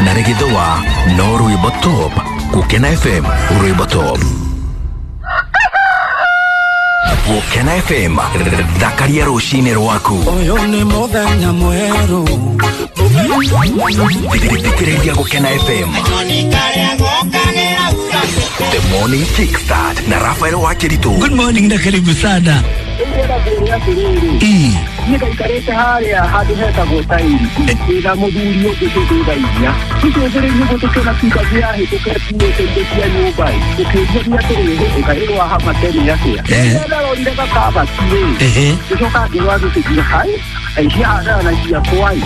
Na rĩgĩthũa no rwĩmbo top. Gũkena FM, rwĩmbo top. Gũkena FM, thakaria rũcinĩ rwaku. Ũyũ nĩ mũthenya mwerũ. Thikĩrĩria Gũkena FM. The Morning Kickstart na Rafael Wakiritu. Good morning na karibu sana. E. Nĩngaikarĩte harĩa handũ hetagwo tairi ndĩna mũthuri ũngĩ tũthutha inya tũcũthĩrĩirie ũguo tũkĩona pikabu yahĩtũka ĩkuĩte indo cia nyũmba ĩ tũkĩũria atĩrĩrĩ ĩkaĩrwo hama tene atĩa ndarorire gakabati rĩ ngĩcoka ngĩrwo thĩ hai aici hanaga na ciakwa ĩ.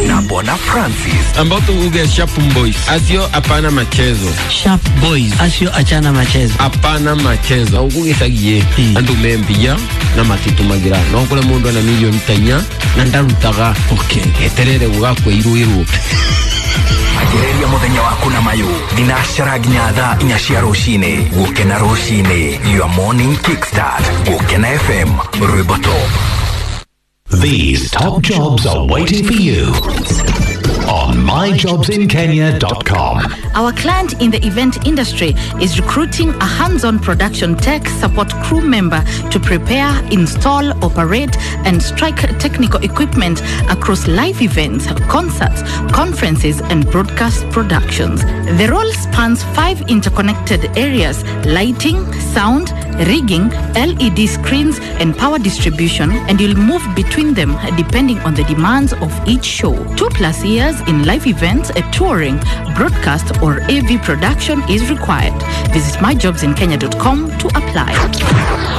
Na Bwana Francis. Ambao tuuge Sharp Boys. Asio hapana machezo. Sharp Boys acio achana machezo. Hapana machezo. Ugugicagie andu membia na matitumagira no kure mundu ana milioni ta inya na ndarutaga. Okay. Eterere gugakweirwo. Anjĩrĩria mũthenya waku na mayũ thinacara nginya thaa inya cia rũcinĩ. Gũkena rũcinĩ, your morning kickstart. Gũkena FM, rwĩmbo top. These top jobs are waiting for you on myjobsinkenya.com. Our client in the event industry is recruiting a hands-on production tech support crew member to prepare, install, operate, and strike technical equipment across live events, concerts, conferences, and broadcast productions. The role spans 5 interconnected areas: lighting, sound, rigging, LED screens, and power distribution, and you'll move between them depending on the demands of each show. 2+ years in live events, a touring, broadcast, or AV production is required. Visit myjobsinkenya.com to apply.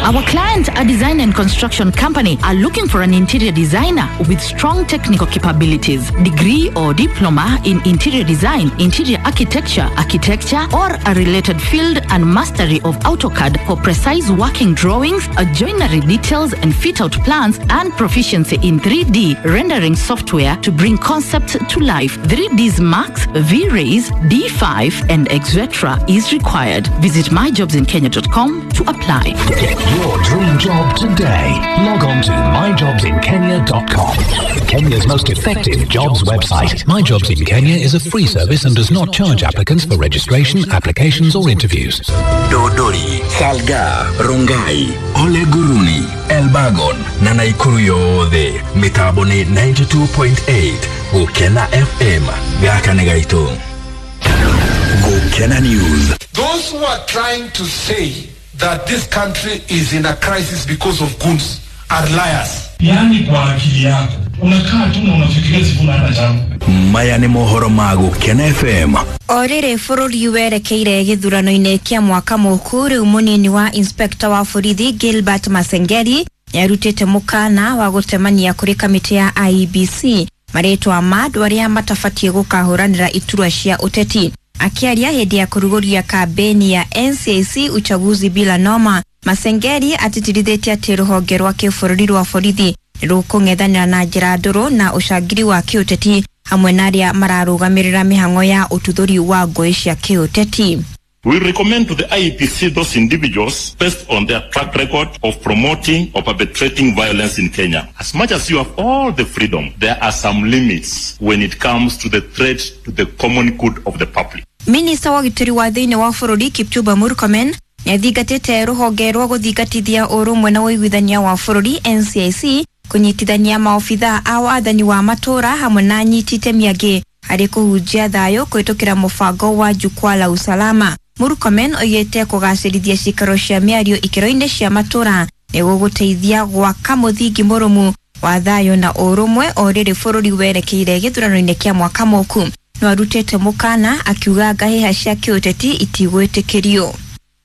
Our client, a design and construction company, are looking for an interior designer with strong technical capabilities, degree or diploma in interior design, interior architecture, architecture, or a related field, and mastery of AutoCAD for precise working drawings, joinery details, and fit-out plans, and proficiency in 3D rendering software to bring concepts to life. 3Ds Max, V-Rays, D5, and etc. is required. Visit myjobsinkenya.com to apply. Get your dream job today. Log on to myjobsinkenya.com. Kenya's most effective jobs website. My Jobs in Kenya is a free service and does not charge applicants for registration, applications, or interviews. Dodori, Salga, Rongai, Ole Guruni, Elbagon na Naikuru yothe mitambo ni 92.8 Gũkena FM. Gaka nĩ gaitũ. Gũkena News. Those who are trying to say that this country is in a crisis because of goons are liars. Yaani kwa akili yako unakaa tu na unafikiria Sifuna hana changu. Maya nĩ mohoro ma Gũkena FM. O rĩrĩ bũrũri werekeire gĩthurano-inĩ kĩa mwaka mũku, rĩu mũnini wa inspector wa borithi Gilbert Masengeri nĩarutĩte mũkana wa gũtemania kũrĩ kamĩtĩ ya IEBC marĩtwa ma andũ arĩa matabatiĩ gũkahũranĩra iturwa cia ũteti. Akiaria hĩndĩ ya kũrugũria kambeni ya NCIC uchaguzi bila noma, Masengeri atitirithĩtie atĩ rũhonge rwa kĩbũrũri rwa borithi rũkũng'ethanĩra na njĩra ndũrũ na ũcangiri wa kĩũteti hamwe na arĩa mararũgamĩrĩra mĩhang'o ya ũtuthũri wa ngũĩ cia kĩũteti. We recommend to the IEBC those individuals based on their track record of promoting or perpetrating violence in Kenya. As much as you have all the freedom, there are some limits when it comes to the threat to the common good of the public. Minista wa ũgitĩri wa thĩinĩ wa bũrũri Kipchumba Murkomen nĩathingatĩte rũhonge rwa gũthingatithia ũrũmwe na ũiguithania wa bũrũri NCIC kũnyitithania maobithaa a wathani wa matũũra hamwe na anyiti itemi angĩ harĩ kũhunjia thayũ kũhĩtũkĩra mũbango wa Jukwaa la Usalama. Murkomen oigĩte kũgacĩrithia ciikaro cia mĩario ikĩro-inĩ cia matũũra nĩ gũgũteithia gwaka mũthingi mũrũmu wa thayũ na ũrũmwe o rĩrĩ bũrũri werekeire gĩthurano-inĩ kĩa mwaka mũku. No arutĩte mũkana akiuga ngahĩha cia kĩũteti itigwĩtĩkĩrio.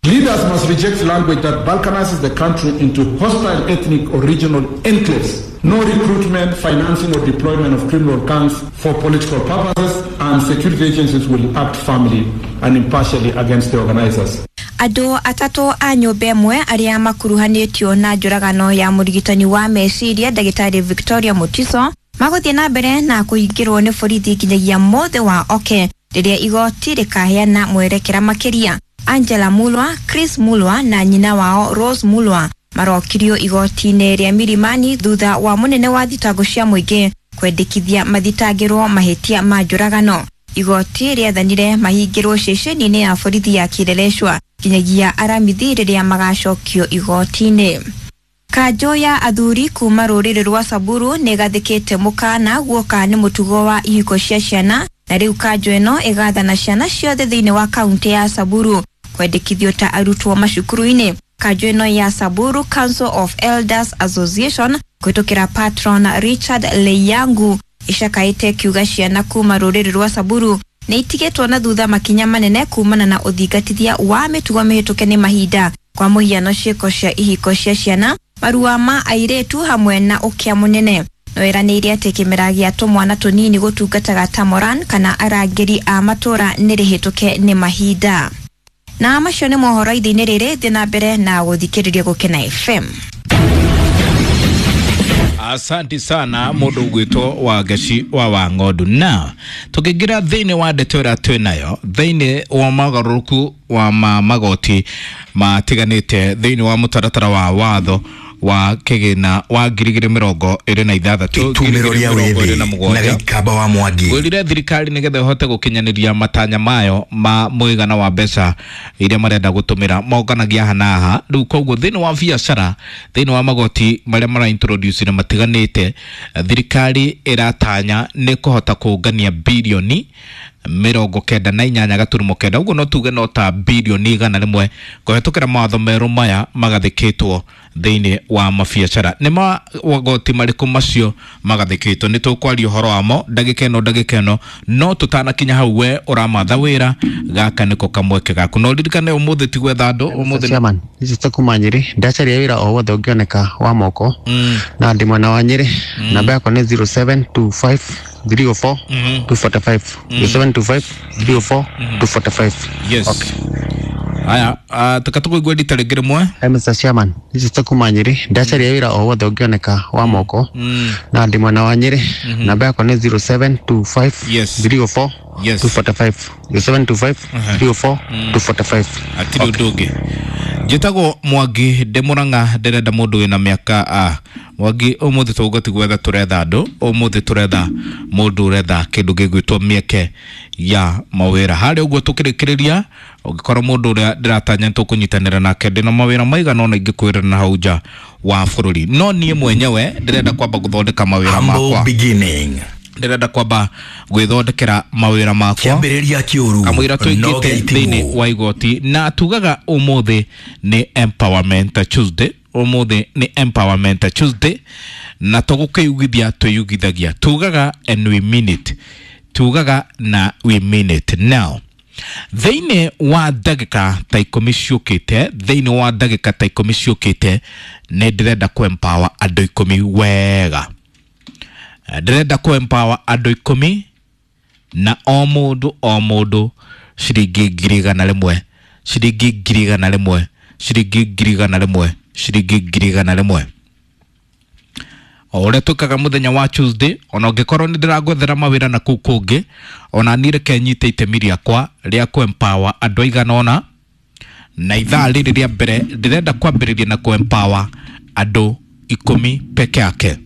Leaders must reject language that balkanizes the country into hostile ethnic or regional enclaves. No recruitment, financing or deployment of criminal gangs for political purposes, and security agencies will act firmly and impartially against the organizers. Andũ atatũ a nyũmba ĩmwe arĩa makuruhanĩtio na njũragano ya mũrigitani wa meciria ndagĩtarĩ Victoria Mutiso magũthiĩ na mbere na kũhingĩrwo nĩ borithi nginyagia mũthĩ wa oke rĩrĩa igoti rĩkaheana mwerekera makĩria. Angela Mulwa, Chris Mulwa na nyina wao Rose Mulwa Marokirio igoti-inĩ rĩa Milimani thutha wa mũnene wa thitango cia mũingĩ kwendekithia mathitangĩrwo mahĩtia ma njũragano. Igoti rĩathanire mahingĩrwo ceceni-inĩ ya borithi ya Kileleshwa nginyagia aramithi rĩrĩa magacokio igoti-inĩ. Kanjũ ya athuri kuma rũrĩrĩ rwa Samburu nĩ ĩgathĩkĩte mũkana guoka nĩ mũtugo wa ihiko cia ciana, na rĩu kanjũ ĩno ĩgathana ciana ciothe thĩinĩ wa kaunti ya Samburu kwendekithio ta arutwo macukuru-inĩ. Kanjũ ĩno ya Samburu Council of Elders Association kũhĩtũkĩra patron Richard Leyangu icakaĩte kiuga ciana kuma rũrĩrĩ rwa Samburu nĩ itigĩtwo na thutha makinya manene kumana na ũthingatithia wa mĩtugo mĩhĩtũke nĩ mahinda, kwa mũhiano ciĩko cia ihiko cia ciana, marua ma airĩtu hamwe na ũkĩa mũnene. No ĩranĩire atĩ kĩmera gĩa tũmwana tũnini gũtungataga ta moran kana arangĩri a matũra nĩ rĩhĩtũke nĩ mahinda. Na macio nĩ mohoro ithe-inĩ rĩrĩ, thiĩ na mbere na gũthikĩrĩria Gũkena FM. Asanti sana mundu ugwitwo wa Ngeci wa Wang'ondu. Na tukiingira thiini wa ndeto ĩrĩa twĩ nayo thiini wa mogarũrũku wa magoti matiganĩte thiini wa mũtaratara wa watho wa kĩgĩna wa 2026 Itumĩro rĩa wĩthĩ na Gĩikamba wa Mwangi. Ngwĩrire thirikari nĩgetha ĩhote gũkinyanĩria matanya mayo ma mũigana wa mbeca iria marenda gũtũmĩra monganagia haha na haha. Rĩu koguo thĩinĩ wa biacara, thĩinĩ wa magoti marĩa mara introduce na matiganĩte, thirikari ĩratanya nĩ kũhota kũngania birioni 98.9, ũguo no tuge no ta birioni 100 kũhetũkĩra mawatho merũ maya magathĩkĩtwo thĩinĩ wa mabiacara. Nĩ magoti marĩkũ macio magathĩkĩtwo? Nĩ tũkwaria ũhoro wamo ndagĩka ĩno ndagĩka ĩno, no tũtanakinya hau we ũramatha wĩra, gaka nĩko kamweke gaku. No ririkane ũmũthĩ ti gwetha andũ, ũmũthĩ Chairman, ici ta kuma Nyĩrĩ, ndacaria wĩra o wothe ũngĩoneka wa moko na ndĩ mwena wa Nyĩrĩ. Namba yakwa nĩ 0725 304 245, 0725 304 245. Yes. Aya, tukatũkũigua rita rĩngĩ rĩmwe. Hi Mr. Chairman, ici ta kuma Nyĩrĩ, ndacaria wĩra o wothe ũngĩoneka wa moko na ndĩ mwena wa Nyĩrĩ. Namba yakwa nĩ 0725 304 245, 0725 304 245. Hatirĩ ũndũ ũngĩ. Njĩtagwo Mwangi ndĩ Mũrang'a, ndĩrenda mũndũ wĩna mĩaka Mwangi ũmũthĩ tũgũti gwetha tũretha andũ, ũmũthĩ tũretha mũndũ ũretha kĩndũ gĩgwĩtwo mĩeke ya mawĩra. Harĩa ũguo tũkĩrĩkĩrĩria, ũngĩkorwo mũndũ ũrĩa ndĩratanya nĩtũkũnyitanĩra nake, ndĩna mawĩra maigana ũna ingĩkwĩra na hau nja wa bũrũri, no niĩ mwenyewe ndĩrenda kwamba gũthondeka mawĩra makwa. Beginning. Ndĩrenda kwamba gwĩthondekera mawĩra makwa Kĩambĩrĩria kĩũru kamũira no tũingĩte gĩitimũ. thĩinĩ wa igoti, na tugaga ũmũthĩ nĩ Empowerment Tuesday. Ũmũthĩ nĩ Empowerment Tuesday na tũgũkĩyugithia twĩyugithagia, tugaga and we mean it, tugaga na we mean it. Now thĩinĩ wa ndagĩka ta ikũmi ciũkĩte, thĩinĩ wa ndagĩka ta ikũmi ciũkĩte, nĩ ndĩrenda kũ empower andũ ikũmi wega. Ndĩrenda kũ empower andũ ikũmi na o mũndũ o mũndũ ciringi 100,000, ciringi 100,000, ciringi 100,000, ciringi 100,000. O ũrĩa twĩkaga mũthenya wa Tuesday, ona ũngĩkorwo nĩ ndĩragwethera mawĩra na kũu kũngĩ, ona niĩ reke nyite itemi rĩakwa rĩa kũ empower andũ aigana ũna. Na ithaa rĩrĩ rĩa mbere ndĩrenda kwambĩrĩria na kũ empower andũ ikũmi peke yake,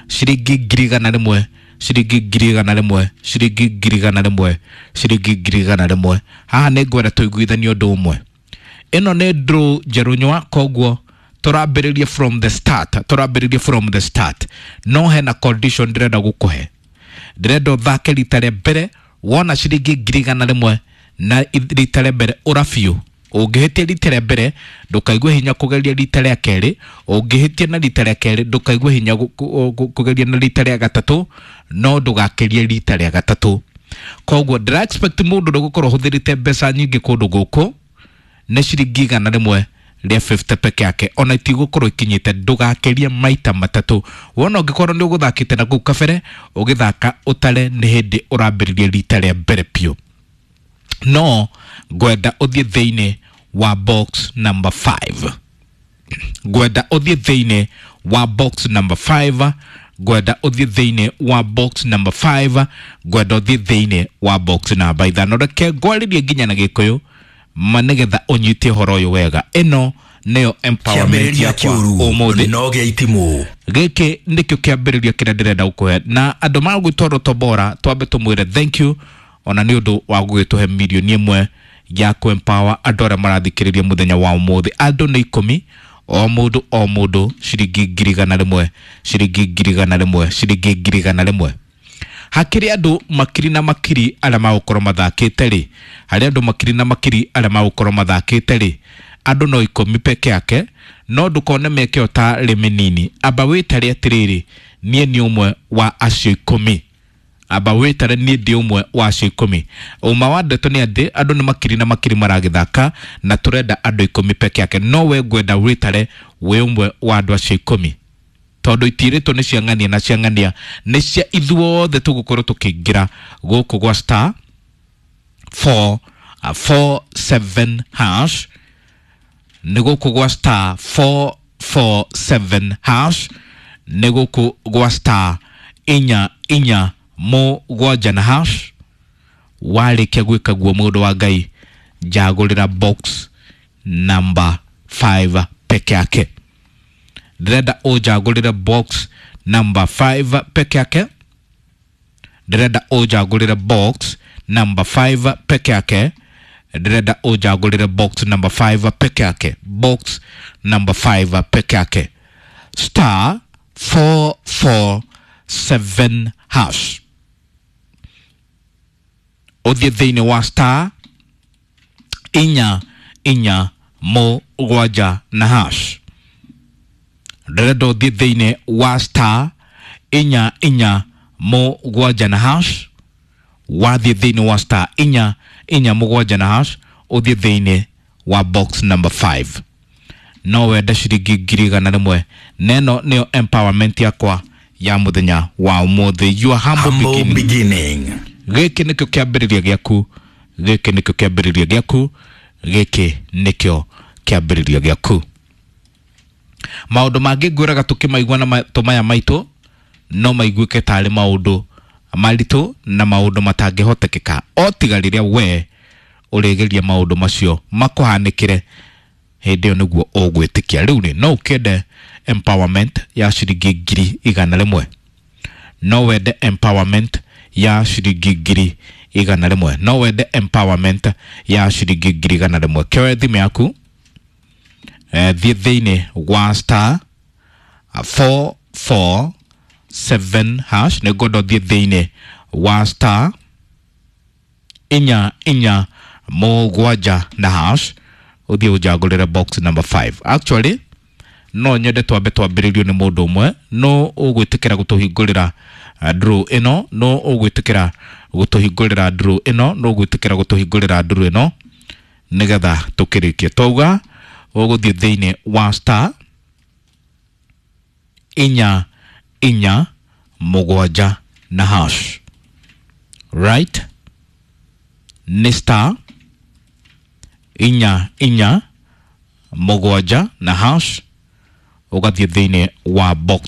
ciringi 100,000, ciringi 100,000, ciringi 100,000, ciringi 100,000. Haha nĩ ngwenda tũiguithanie ũndũ ũmwe. Ĩno nĩ draw njerũ nywa, koguo tũrambĩrĩria from the start, tũrambĩrĩria from the start. No hena condition ndĩrenda gũkũhe. Ndĩrenda ũthake rita rĩa mbere wona ciringi 100,000 na rita rĩa mbere ũra biũ. Ũngĩhĩtia rita rĩa mbere ndũkaigue hinya kũgeria rita rĩa kerĩ, ũngĩhĩtia na rita rĩa kerĩ ndũkaigue hinya kũgeria na rita rĩa gatatũ, no ndũgakĩrie rita rĩa gatatũ. Koguo ndĩra expect mũndũ ũrĩa ũgũkorwo ũhũthĩrĩte mbeca nyingĩ kũndũ gũkũ nĩ ciringi 150 peke yake, ona itigũkorwo ikinyĩte, ndũgakĩrie maita matatũ. Wona ũngĩkorwo nĩ ũgũthakĩte na kũu kabere, ũgĩthaka ũtare nĩ hĩndĩ ũrambĩrĩria rita rĩa mbere biũ. No ngwenda ũthiĩ thĩinĩ wa box number 5, ngwenda ũthiĩ thĩinĩ wa box number 5, ngwenda ũthiĩ thĩinĩ wa box number 5, ngwenda ũthiĩ thĩinĩ wa box number 5. Reke ngwarĩrie nginya na Gĩkũyũ ma nĩgetha ũnyite ũhoro ũyũ wega. Ĩno Nĩyo empowerment Kĩambĩrĩria yakwa kĩũru ũmũthĩ. No gĩa itimũ. Gĩkĩ nĩkĩo kĩambĩrĩria kĩrĩa ndĩrenda gũkũhe, na andũ magwĩtwo Rotobora twambe tũmwĩre thank you ona nĩ ũndũ wa gũgĩtũhe 1 million ya kũ-empower andũ arĩa marathikĩrĩria mũthenya wa ũmũthĩ. Andũ nĩ 10, o mũndũ o mũndũ ciringi 100,000, ciringi 100,000, ciringi 100,000. Hakĩrĩ andũ makiri na makiri arĩa magũkorwo mathakĩte rĩ, harĩ andũ makiri na makiri arĩa magũkorwo mathakĩte rĩ, andũ no 10 peke yake. No ndũkone mĩeke ĩyo ta rĩ mĩnini. Amba wĩtare atĩrĩrĩ, niĩ nĩ ũmwe wa acio 10. Amba wĩtare, niĩ ndĩ ũmwe wa acio 10. Ũma wa ndeto nĩ atĩ andũ nĩ makiri na makiri maragĩthaka na tũrenda andũ 10 peke yake. No we ngwenda wĩtare wĩ ũmwe wa andũ acio 10, tondũ itirĩtwo nĩ cia ng'ania na cia ng'ania nĩ cia ithuothe. Tũgũkorwo tũkĩingĩra gũkũ gwa star 4 4 7 hash. Nĩ gũkũ gwa star 4 4 7 hash, nĩ gũkũ gwa star 4 4 7 na hash. Warĩkia gwĩka guo, mũndũ wa Ngai, njagũrĩra box number 5 peke yake. Ndĩrenda ũnjagũrĩre box number 5 peke yake. Ndĩrenda ũnjagũrĩre box number 5 peke yake. Ndĩrenda ũnjagũrĩre box number 5 peke yake, box number 5 peke yake, star 447 hash. Ũthiĩ thĩinĩ wa star 4 4 7 na hash. Ndĩrenda ũthiĩ thĩinĩ wa star 4 4 7 na hash. Wathiĩ thĩinĩ wa star 4 4 7 na hash, ũthiĩ thĩinĩ wa box number 5. No wende ciringi 100,000. Neno nĩyo empowerment yakwa ya mũthenya wa ũmũthĩ, your humble, Humble beginning. Beginning. Gĩkĩ nĩkĩo kĩambĩrĩria gĩaku. Gĩkĩ nĩkĩo kĩambĩrĩria gĩaku. Gĩkĩ nĩkĩo kĩambĩrĩria gĩaku. Maũndũ mangĩ ngwĩraga tũkĩmaigua na matũ maya maitũ no maiguĩke tarĩ maũndũ maritũ na maũndũ matangĩhotekeka, o tiga rĩrĩa we ũrĩgeria maũndũ macio makũhanĩkĩre, hĩndĩ ĩyo nĩguo ũgwĩtĩkia. Rĩu rĩ, no ũkĩende empowerment ya ciringi 100,000? No wende empowerment ya ciringi 100,000? No wende empowerment ya ciringi 100,000? Kĩoe thimũ yaku, thiĩ thĩinĩ wa star 447 hash. Nĩ ngwenda ũthiĩ thĩinĩ wa star 4 4 7 na hash, ũthiĩ ũnjagũrĩre box number 5. Actually, no nyende twambe twambĩrĩrio nĩ mũndũ ũmwe. No ũgwĩtĩkĩra gũtũhingũrĩra draw ĩno? No ũgwĩtĩkĩra gũtũhingũrĩra draw ĩno? No ũgwĩtĩkĩra gũtũhingũrĩra draw ĩno nĩgetha tũkĩrĩkie? Twauga ũgũthiĩ thĩinĩ wa star 4 4 7 na hash, right? Nĩ star 4 4 7 na hash, ũgathiĩ thĩinĩ wa box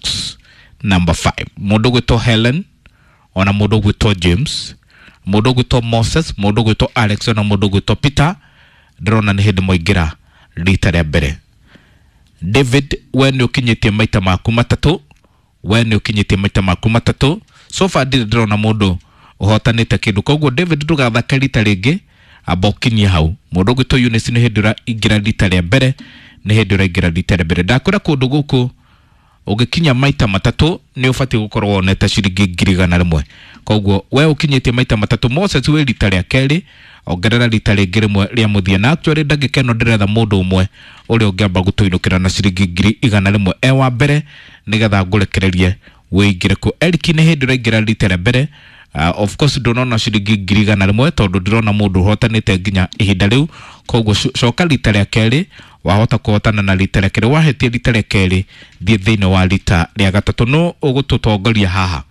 number 5. Mũndũ ũgwĩtwo Helen, ona mũndũ ũgwĩtwo James, mũndũ ũgwĩtwo Moses, mũndũ ũgwĩtwo Alex, ona mũndũ ũgwĩtwo Peter, ndĩrona nĩ hĩndĩ mwaingĩra rita rĩa mbere. David, we nĩ ũkinyĩtie maita maku 3. We nĩ ũkinyĩtie maita maku 3. So far ndirĩ ndĩrona mũndũ ũhotanĩte kĩndũ, koguo David, ndũgathake rita rĩngĩ, amba ũkinyie hau. Mũndũ ũgwĩtwo Eunice, nĩ hĩndĩ ũraingĩra rita rĩa mbere, nĩ hĩndĩ ũraingĩra rita rĩa mbere. Ndakwĩra kũndũ gũkũ ũngĩkinya maita 3 nĩ ũbatiĩ gũkorwo wonete ciringi 100,000. Koguo we ũkinyĩtie maita 3. Moses wĩ rita rĩa kerĩ, ongerera rita rĩngĩ rĩmwe rĩa mũthia. Na actually ndagĩka ĩno ndĩretha mũndũ ũmwe ũrĩa ũngĩamba gũtũinũkĩra na ciringi 100,000 e wa mbere, nĩgetha ngũrekererie wĩingĩre kuo. Eric, nĩ hĩndĩ ũraingĩra rita rĩa mbere. Of course ndũnona ciringi 100,000 tondũ ndĩrona mũndũ ũhotanĩte nginya ihinda rĩu. Koguo coka rita rĩa kerĩ, wahota kũhotana na rita rĩa kerĩ. Wahĩtia rita rĩa kerĩ, thiĩ thĩinĩ wa rita rĩa gatatũ. No ũgũtũtongoria haha?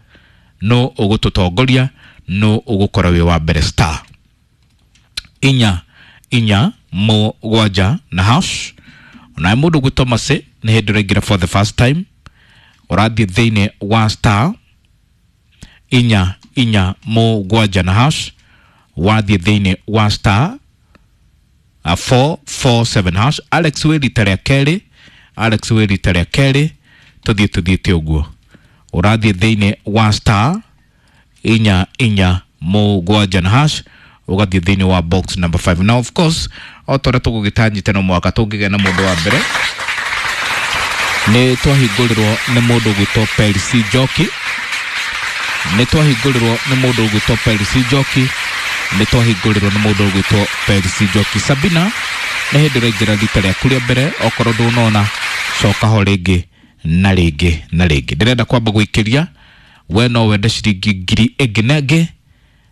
No ũgũtũtongoria? No ũgũkorwo wĩ wa mbere? Star 4 4 7 na hash. Onawe mũndũ gwĩtwo Mase, nĩ hĩndĩ ũraingĩra for the first time, ũrathiĩ thĩinĩ wa star 4 4 7 na hash. Wathiĩ thĩinĩ wa star 447 hash. Alex wĩ rita rĩa kerĩ, Alex wĩ rita rĩa kerĩ, tũthiĩ tũthiĩte ũguo. Ũrathiĩ thĩinĩ wa star 4 4 7 na hash, ũgathiĩ thĩinĩ wa box number 5. Now of course o ta ũrĩa tũgũgĩtanyĩte no mwaka tũngĩgĩa na mũndũ wa mbere, nĩ twahingũrĩrwo nĩ mũndũ ũgwĩtwo Percy Njoki, nĩ twahingũrĩrwo nĩ mũndũ ũgwĩtwo Percy Njoki, nĩ twahingũrĩrwo nĩ mũndũ ũgwĩtwo Percy Njoki. Sabina, nĩ hĩndĩ ũraingĩra rita rĩaku rĩa mbere, okorwo ndũnona coka ho rĩngĩ na rĩngĩ na rĩngĩ. Ndĩrenda kwamba gũikĩria we no wende ciringi 1,000 ĩngĩ na ĩngĩ,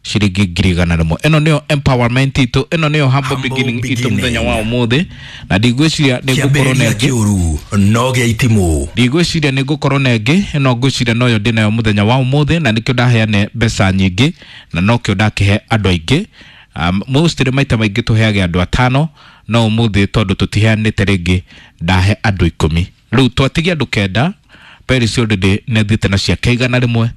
ciringi 100,000. Ĩno nĩyo empowerment itũ, ĩno nĩyo humble beginning itũ mũthenya wa ũmũthĩ, na ndigwĩciria nĩ ngũkorwo na Kĩambĩrĩria ĩngĩ. Kĩũru no gĩa itimũ. Ndigwĩciria nĩ ngũkorwo na ĩngĩ, ĩno ngwĩciria noyo ndĩnayo mũthenya wa ũmũthĩ, na nĩkĩo ndaheane mbeca nyingĩ na nokĩo ndakĩhe andũ aingĩ. Mostly maita maingĩ tũheage andũ 5, no ũmũthĩ tondũ tũtiheanĩte rĩngĩ ndahe andũ 10. Rĩu twatigia andũ 9, Peris already nĩ athiĩte na ciake 100,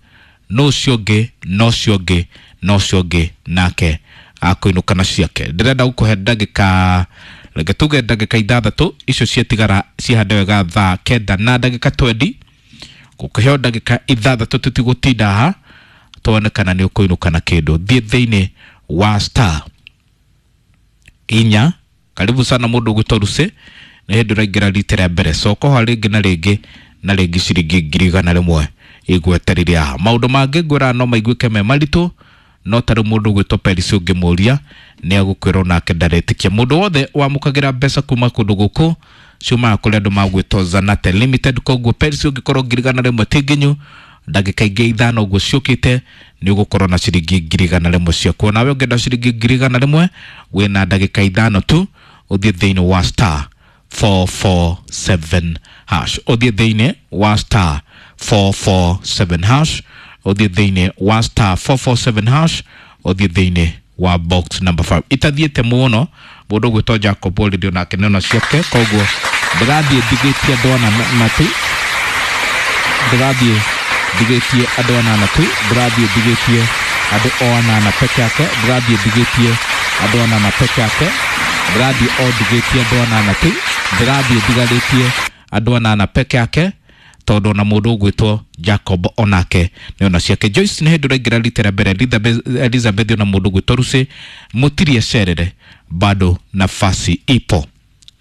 no ũcio ũngĩ, no ũcio ũngĩ, no ũcio ũngĩ nake akũinũka na ciake. Ndĩrenda gũkũhe ndagĩka, reke tuge ndagĩka 6 icio ciatigara cihande wega thaa 9 na ndagĩka 20, gũkũheo ndagĩka 6 tũtigũtinda haha, tuone kana nĩ ũkũinũka na kĩndũ. Thiĩ thĩinĩ wa star 4, karibu sana mũndũ ũgwĩtwo Lucy, nĩ hĩndĩ ũraingĩra rita rĩa mbere, coka ho rĩngĩ na rĩngĩ na rĩngĩ, ciringi 100,000 igweterire haha. Maũndũ mangĩ ngwĩraga no maiguĩke me maritũ, no tarĩ mũndũ ũgwĩtwo Peris ũngĩmũria nĩ agũkwĩra onake ndaretĩkia. Mũndũ wothe wamũkagĩra mbeca kuma kũndũ gũkũ ciumaga kũrĩ andũ magwĩtwo Zanate Limited. Koguo Peris ũngĩkorwo 100,000 ti nginyu, ndagĩka ingĩ 5 ũguo ciũkĩte nĩ ũgũkorwo na ciringi 100,000 ciaku. Onawe ũngĩenda ciringi 100,000 wĩna ndagĩka 5 tu, ũthiĩ thĩinĩ wa star 447 hash, ũthiĩ thĩinĩ wa star 447 hash, ũthiĩ thĩinĩ wa star 447 hash, ũthiĩ thĩinĩ wa box number 5. Itathiĩte mũno, mũndũ ũgwĩtwo Jacob already onake nĩona ciake, koguo ndĩrathiĩ ndigĩtie andũ ana tu, ndĩrathiĩ ndigĩtie andũ anana tu, ndĩrathiĩ ndigĩtie andũ o anana peke yake, ndĩrathiĩ ndigĩtie andũ anana peke yake, ndĩrathiĩ o ndigĩtie andũ anana tu, ndĩrathiĩ ndigarĩtie andũ anana peke yake, tondũ ona mũndũ ũgwĩtwo Jacob onake nĩ ona ciake. Joyce nĩ hĩndĩ ũraingĩra rita rĩa mbere, Elizabeth ona mũndũ ũgwĩtwo Lucy, mũtirie cerere, bado nafasi ipo.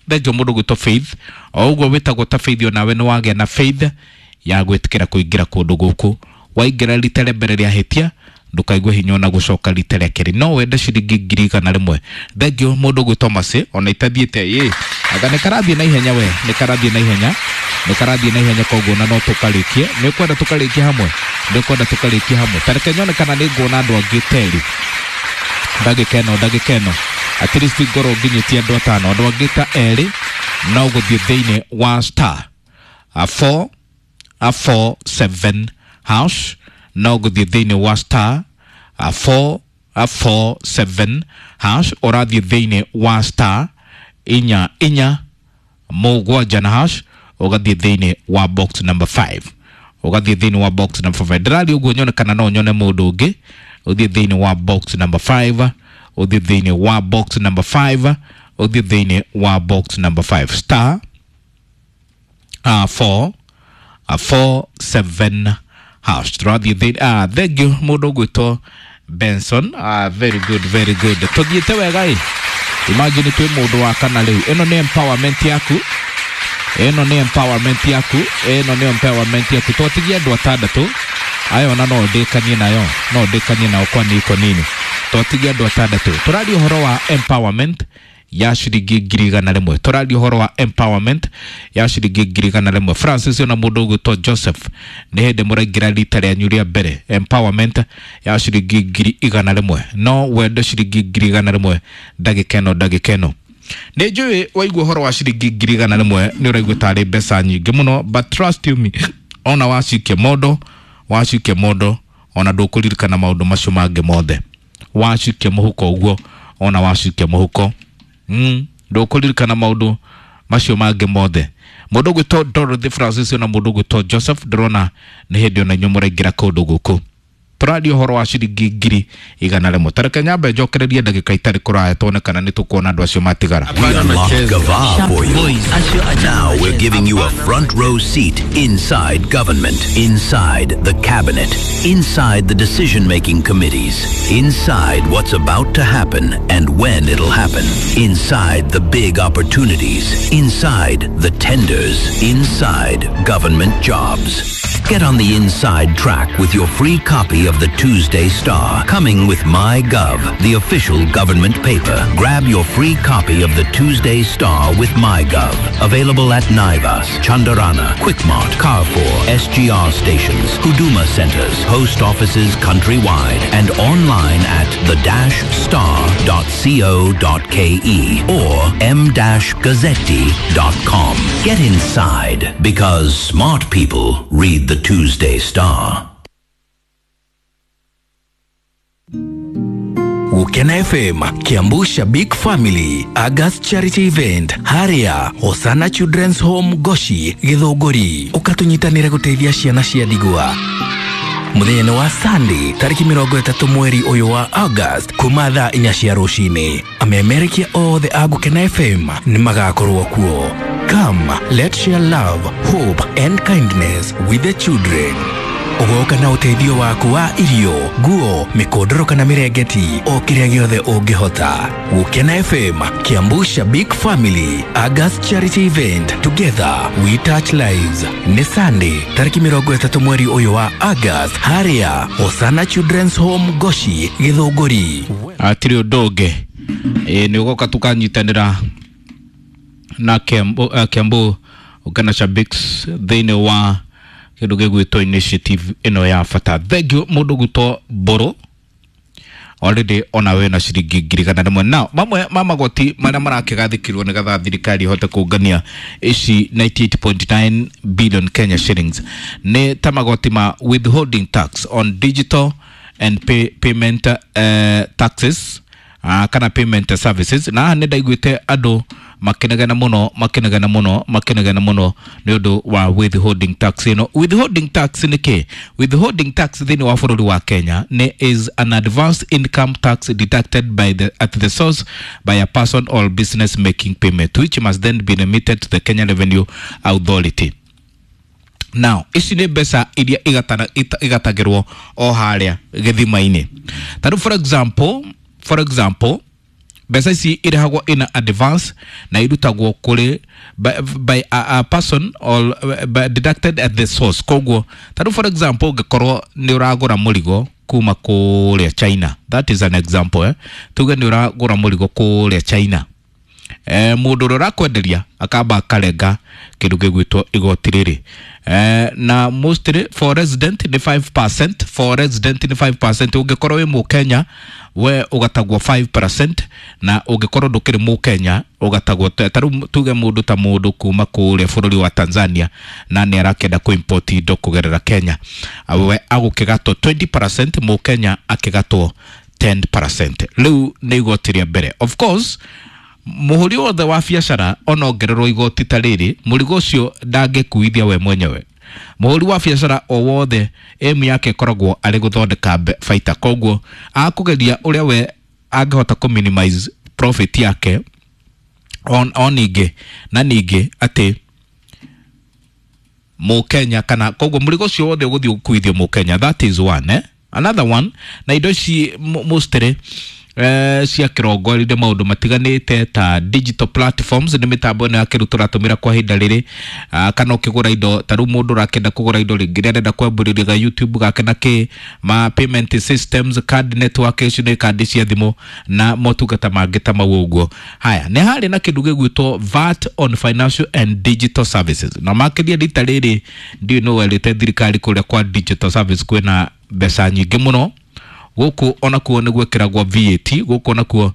Thengio mũndũ ũgwĩtwo Faith, o ũguo wĩtagwo ta Faith, onawe nĩ wagĩa na faith ya gwĩtĩkĩra kũingĩra kũndũ gũkũ. Waingĩra rita rĩa mbere rĩa hĩtia, ndũkaigue hinya ona gũcoka rita rĩa kerĩ, no wende ciringi 100,000. Thengio mũndũ ũgwĩtwo Mercy, ona itathiĩte ĩ anga nĩ karathiĩ na ihenya, we nĩ karathiĩ na ihenya, nĩ karathiĩ na ihenya, koguo na no tũkarĩkie. Nĩ ũkwenda tũkarĩkie hamwe, nĩ ũkwenda tũkarĩkie hamwe. Ta reke nyone kana nĩ nguona andũ angĩ terĩ, ndagĩka ĩno, ndagĩka ĩno at least ngorwo nginyĩtie andũ 5, andũ angĩ ta 2, no gũthiĩ thĩinĩ wa star 4 4 7 hash, no gũthiĩ thĩinĩ wa star 4 4 7 hash, ũrathiĩ thĩinĩ wa star 4 4 7 na hash, ũgathiĩ thĩinĩ wa box number 5, ũgathiĩ thĩinĩ wa box number 5. Ndĩraria ũguo nyone kana no nyone mũndũ ũngĩ. Ũthiĩ thĩinĩ wa box number 5, ũthiĩ thĩinĩ wa box number 5, ũthiĩ thĩinĩ wa box number 5, star 4 4 7 hash. Tũrathiĩ thĩinĩ. Thank you mũndũ ũgwĩtwo Benson, very good, very good, tũthiĩte wega ĩ. Imagine twĩ mũndũ wa kana rĩu. Ĩno nĩ empowerment yaku, ĩno nĩ empowerment yaku, ĩno nĩ empowerment yaku. Twatigia andũ 6 ayo, ona no ndĩkanie nayo, no ndĩkanie nao kwani iko nini. Twatigia andũ 6. Tũraria ũhoro wa empowerment ya ciringi 100,000, tũraria ũhoro wa empowerment ya ciringi 100,000. Francis ona mũndũ ũgwĩtwo Joseph, nĩ hĩndĩ mũraingĩra rita rĩanyu rĩa mbere, empowerment ya ciringi 100,000, no wende ciringi 100,000 ndagĩka ĩno, ndagĩka ĩno. Nĩ njũĩ waigua ũhoro wa ciringi 100,000 nĩ ũraigua tarĩ mbeca nyingĩ mũno, but trust you me, ona wacikia mondo, wacikia mondo, ona ndũkũririkana maũndũ macio mangĩ mothe. Wacikia mũhuko ũguo, ona wacikia mũhuko, ndũkũririkana maũndũ macio mangĩ mothe. Mũndũ ũgwĩtwo Dorothy Francis na mũndũ ũgwĩtwo Joseph, ndĩrona nĩ hĩndĩ ona inyuĩ mũraingĩra kũndũ gũkũ. Tũraria ũhoro wa ciringi 100,000. Tareke nyambe njokererie ndagĩka itarĩ kũraya tuone kana nĩ tũkuona andũ acio matigara. We unlocked Gava for you. Now we're giving you a front row seat inside government, inside the cabinet, inside the decision making committees, inside what's about to happen and when it'll happen, inside the big opportunities, inside the tenders, inside government jobs. Get on the inside track with your free copy of the Tuesday Star, coming with MyGov, the official government paper. Grab your free copy of the Tuesday Star with MyGov. Available at Naivas, Chandarana, Quickmart, Carrefour, SGR stations, Huduma centers, post offices countrywide, and online at the-star.co.ke or m-gazzetti.com. Get inside because smart people read the Tuesday Star. Gukena FM, Kiambu Shabik Family, August Charity Event, Haria, Hosana Children's Home Goshi, Githũngũri. Ũkatunyitanĩre gũteithia ciana cia ndigwa. Mũthenya-inĩ wa Sunday tarĩki 30 mweri ũyũ wa August kuma thaa 4 cia rũcinĩ, amemerekia othe a Gũkena FM nĩ magakorwo kuo. Come, let's share love, hope and kindness with the children. Ũgoka na ũteithio waku wa irio, nguo, mĩkondoro kana mĩrengeti, o kĩrĩa gĩothe ũngĩhota. Gũkena FM, Kiambu Shabik Family, August Charity Event, together we touch lives. Nĩ Sunday tarĩki 30 mweri ũyũ wa August, harĩa Hosana Children's Home Goshi, Gĩthũngũri. Hatirĩ ũndũ ũngĩ. Ĩ nĩ ũgoka tũkanyitanĩra na Kiambu, Kiambu Gũkena Shabiks thĩinĩ wa kĩndũ gĩgwĩtwo initiative ĩno ya bata. Thank you mũndũ gwĩtwo Mbũrũ already ona we na ciringi 100,000. Now mamwe ma magoti marĩa marakĩgathĩkirwo nĩgetha thirikari ĩhote kũngania ici 98.9 billion Kenya shillings nĩ ta magoti ma withholding tax on digital and payment taxes, kana payment services. Na haha nĩ ndaiguĩte andũ makinegena mũno makinegena mũno makinegena mũno nĩ ũndũ wa withholding tax ĩno. Withholding tax nĩ kĩ? Withholding tax thĩinĩ wa bũrũri wa Kenya nĩ is an advanced income tax deducted by the, at the source by a person or business making payment, which must then be remitted to the Kenya Revenue Authority. Now ici nĩ mbeca iria igatagĩrwo o harĩa gĩthima-inĩ. Tarĩu for example mbeca ici irĩhagwo in advance na irutagwo kũrĩ by a person or by deducted at the source. Koguo tarĩu for example ũngĩkorwo nĩ ũragũra mũrigo kuma kũrĩa China, that is an example, eh? Tuge nĩ ũragũra mũrigo kũrĩa China, mũndũ ũrĩa ũrakwenderia akamba akarenga kĩndũ gĩgwĩtwo igoti rĩrĩ, na mostly for resident nĩ 5%. For resident nĩ 5%. Ũngĩkorwo wĩ mũkenya we ũgatagwo 5%, na ũngĩkorwo ndũkĩrĩ mũkenya ũgatagwo ta rĩu tuge mũndũ ta mũndũ kuma kũrĩa bũrũri wa Tanzania na nĩ arakĩenda kũ import indo kũgerera Kenya, we agũkĩgatwo 20%, mũkenya akĩgatwo 10%. Rĩu nĩ igoti rĩa mbere. Of course mũhũri wothe wa biacara onongererwo igoti ta rĩrĩ, mũrigo ũcio ndangĩkuithia we mwenyewe. Mũhũri wa biacara o wothe aim yake ĩkoragwo arĩ gũthondeka baita, koguo akũgeria ũrĩa we angĩhota kũ minimize profit yake on ningĩ na ningĩ atĩ mũkenya kana koguo mũrigo ũcio wothe ũgũthiĩ gũkuithio mũkenya. That is one, eh? Another one, na indo ici mostly cia kĩrongoreirie maũndũ matiganĩte ta digital platforms, nĩ mĩtambo ĩno ya kĩrĩu tũratũmĩra kwa ihinda rĩrĩ, kana ũkĩgũra indo ta rĩu mũndũ ũrakĩenda kũgũra indo rĩngĩ nĩ arenda kwambĩrĩria ga YouTube gake na kĩ ma payment systems, card network, icio nĩ kandi cia thimũ na motungata mangĩ ta mau ũguo. Haya, nĩ harĩ na kĩndũ gĩgwĩtwo VAT on financial and digital services, na makĩria rita rĩrĩ ndiũĩ nũ werĩte thirikari kũrĩa kwa digital service kwĩna mbeca nyingĩ mũno. Gũkũ onakuo nĩ gwĩkĩragwo VAT gũkũ onakuo.